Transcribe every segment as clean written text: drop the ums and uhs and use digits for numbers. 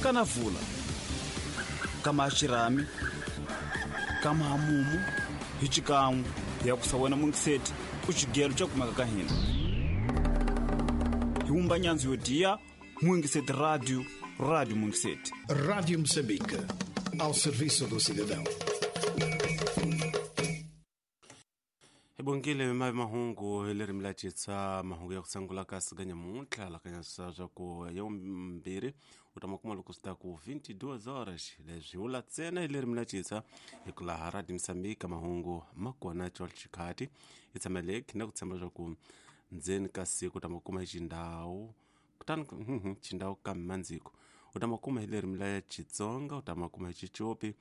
Kana vula kama xirhami kama hamumu hi xikan'we hi ya kusa wena mungiseti ku xigelo xa kumeka ka hina hi wumba nyandzu yo diya Mungiseti Radio, Rádio Mungiseti. Rádio Moçambique, ao serviço do cidadão. Hi bongile mavi mahungu hi lerimi la citsa mahungu ya ku sangula ka siganya muntlha lakanyasa swa ku ya vumbirhi u ta makuma loko swi ta ku 22 horas leswi vula ntsena hi lerimi la citsa hi ku laha Radio Moçambique mahungu ma kona col xikhati hi tshameleki na ku tshemba swa ku ndzeni ka siku u ta makuma hi xindhawu kutani xindhawu kambe mandziko u ta makuma hi lerimi la Xitsonga u ta makuma hi Xicopi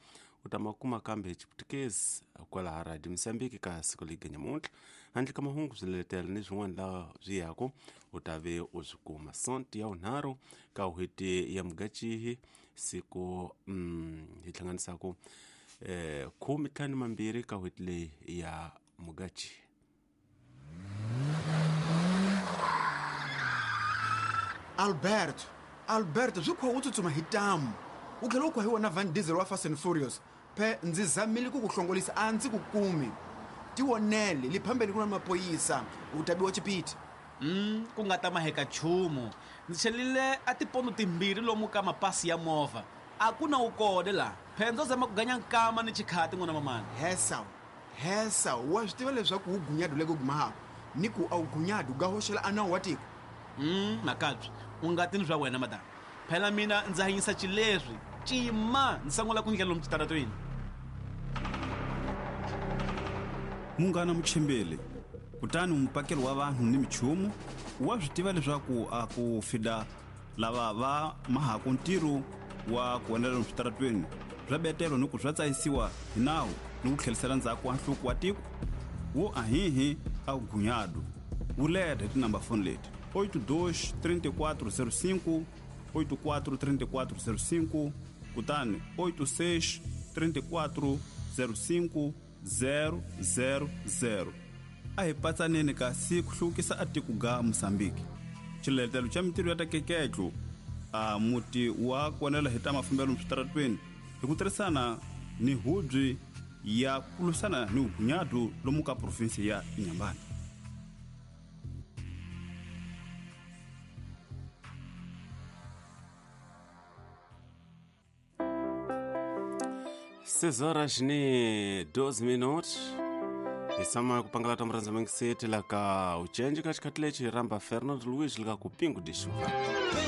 u ta makuma kambe hi Xiputukezi kwalaha Radio Moçambique ka siku leyi nyamuntlha handle ka mahungu swiletelo ni swin'wana laha swi yaku u ta ve u swi kuma sonti ya vunharhu ka n'hweti ya Mugacihi siku hi hlanganisaku 12 ka n'hweti leyi ya Mugacihi. Alberto, Alberto swi kha u tsutsuma hi tamu u tlhela u kha hi wona Van Diesel wa Fast and Furious phe ndzi zamile ku ku hlongolisa a ndzi ku kumi tivonele le phambeni ku na mapoyisa u ta biwa chipiti. Ku nga ta maheka nchumu ndzi chelile a tipondo timbirhi lomu ka mapasi ya movha a ku na wu kone laha phe ndzo zama ku ganya nkama ni chikhati n'wana mamani. Hesa hesa wa swi tiva leswaku wu gunyadu le ku gumahako ni ku a wu gunyadu ga hoxela a nawu wa tiko. Makabye u nga tini swa wena madam phela mina ndza hanyisa xileswi cima ndzi sangula ku ndlela lomu xitaratweni. Munghana muchimbeli kutani mupakeli wa vanhu ni michumu wa swi tiva leswaku a ku fida lava va mahaku ntirho wa ku endlela lomu switaratweni swa betelo ni ku swa tsayisiwa hi nawu ni ku tlhelisela ndzhaku wa nhluko wa tiko wo ahihi a ku gunyadu wu leta hi tinamba foni leti 82 34 05 84 34 05 kutani 86 34 05 000. A hi patsaneni kasi ku hluvukisa a tiko ga Mosambiki xiletelo xa mintirho ya ta keketlo a muti wa konela hi ta mafambelo switaratweni hi ku tirhisana ni hubyi ya ku lwisana ni vugunyadu lomu ka provinsi ya Inhambane. 6 horas ni 12 minutos hi tshama ku pangala ta murhandza mangiseti la ka ucenji ka xikhathi lexi hi rhamba Fernando Luiz lika ku pingu de chuva.